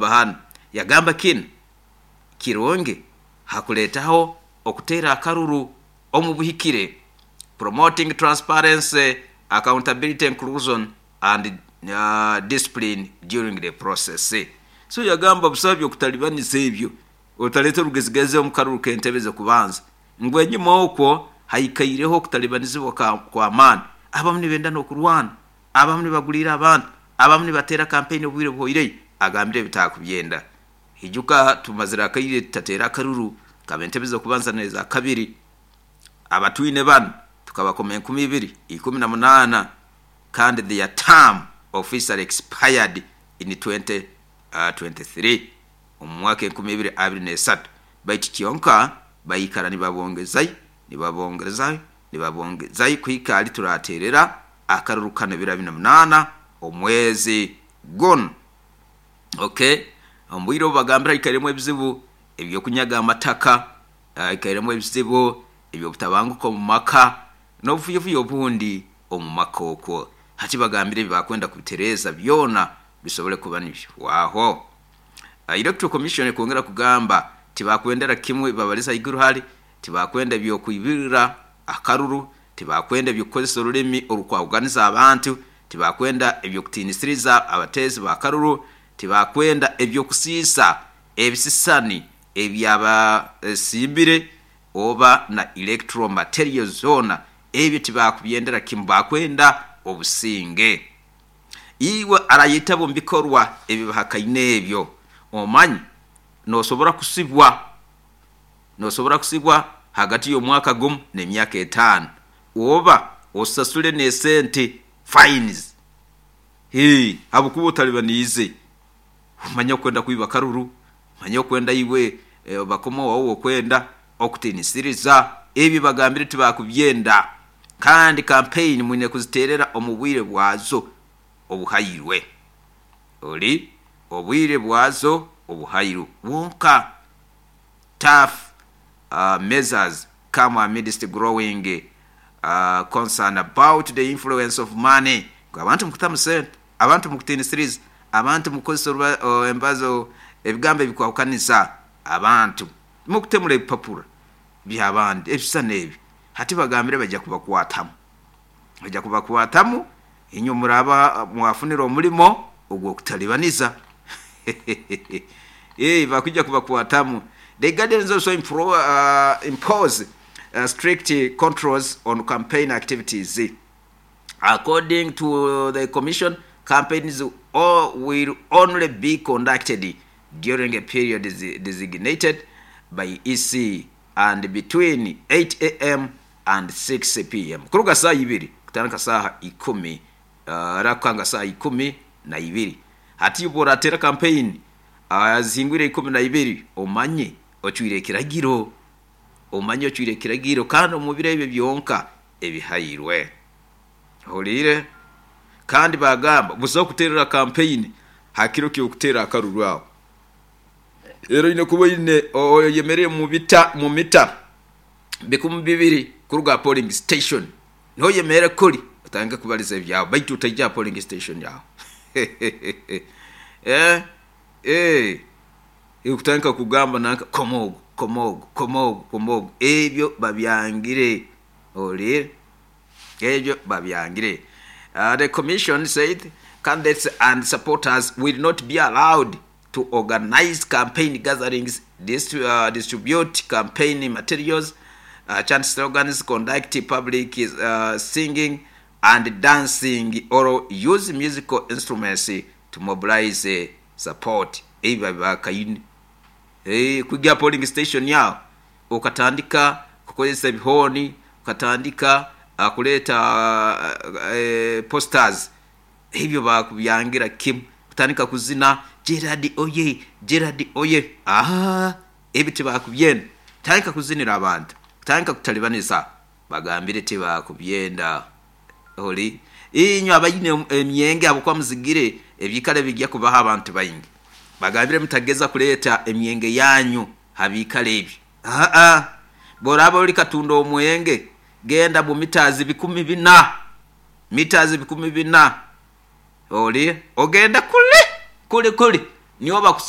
Nibahana yagamba kinu kirungi hakuleetaho okuteera akaruru omu buhikire, promoting transparency, accountability, inclusion and discipline during the process. So yagamba busaho by'okutalibaniza ebyo, otaleeta orugezigezi omu karuru k'entebe z'okubanza ngu enyuma okwo haikaireho okutalibanizibwa kw'amaani, abamu nibenda n'okurwana, abamu nibaguliira abantu, abamu nibateera kampeyini obwire buhoireyo, agambire ebi taakubyenda. Ijuka tumazire akaire tutateera akaruru k'ab'entebe z'okubanza n'eza kabiri. Abatwine banu tukabakoma 2018 kandi their term officially expired in 2023, omu mwaka 2023, baitu kyonka baikara nibabongezayo, nibabongezayo, nibabongezayo kuhika hali turateerera akaruru kanu ebiro 28 omwezi gunu. Okay, omu bwire obu bagambire haikairemu ebizibu eby'okunyaga amataka, haikairemu ebizibu eby'obutabanguko omu maka n'obufuyofuyo obundi omu maka okwo. Hati bagambire ebi bakwenda kubitereeza byona bisobole kuba nibihwaho. Electoral Commission ekwongera kugamba tibakwendera kimwe babaliza haiguru hali, tibakwenda eby'okwibirira akaruru, tibakwenda eby'okukozesa orulimi orukwahuganiza abantu, tibakwenda eby'okutiinisiriza abateezi b'akaruru, tibakwenda eby'okusiisa ebisisani ebyabasimbire oba na electoral materials zoona, ebyo tibakubyendera kimu, bakwenda obusinge. Iwe arayetaba omu bikorwa ebibahakaine ebyo, omanye nosobora kusibwa, nosobora kusibwa hagati y'omwaka gumu n'emyaka 5 oba osasule n'esente, fines, habwokuba otalibaniize. Omanye okwenda kwiba akaruru, omanye okwenda iwe bakoma owawe okwenda okutiinisiriza, ebi bagambire tibakubyenda. Kandi kampeyini mwine kuziteerera omu bwire bwazo obuhairwe. Ori obwire bwazo obuhairwe bwonka. Tough measures come amidst growing concern about the influence of money. Abantu mukutamu sente, abantu mukutiinisiriza, abantu mukukozesa embazo, ebigambo ebikwahukaniza abantu, mukutemura ebipapura by'abandi, ebisisani ebi. Hati bagambire baija kubakwatamu, baija kubakwatamu inywe muraaba mwafunire omulimo ogw'okutalibaniza. Bakwija kubakwatamu. The guidelines also impose strict controls on campaign activities. According to the commission, campaigns will only be conducted during a period designated by EC and between 8 a.m. and 6 p.m. Kuruga saaha 2 kutandika saaha 10, rakukanga saaha 12. Hati obu orateera kampeyini zihingwire 12, omanye ocwire ekiragiro, omanye ocwire ekiragiro kandi omu biro ebyo byonka ebihairwe. Ohuliire? Kandi bagamba busaho kuteerera kampeyini ha kiro ky'okuteera akaruru aho. Rero oine kuba oine oyemereire mu mita 2000 kuruga aha polling station. Niho oyemerere kuri otandike kubaliza ebyawe baitu otaija aha polling station aho. Kutandika kugamba nanka koma ogu, koma ogu, koma ogu, koma ogu, ebyo babyangire. Ohuliire? Ebyo babyangire. The commission said candidates and supporters will not be allowed to organize campaign gatherings, distribute campaign materials, chant slogans, conduct public singing and dancing or use musical instruments to mobilize support. Ebi babibakaine. Kwija aha polling station aho okatandika kukozesa ebihooni, okatandika kuleeta posters, ebyo bakubyangira kimu. Kutandika kuzina Gerald oye, Gerald oye, ebi tibakubyenda. Kutandika kuzinira abantu, kutandika kutalibaniza, bagambire tibakubyenda. Ori inywe abaine emyenge habwokuba muzigire ebiikaro ebijja kubaho abantu baingi, bagambire mutageza kuleeta emyenge yanyu ha biikaro ebi. Bw'oraaba ori katunda omwenge, genda mu mitazi 4000, mitazi 4000, ori ogenda kuli kuli kuli niho bakusa.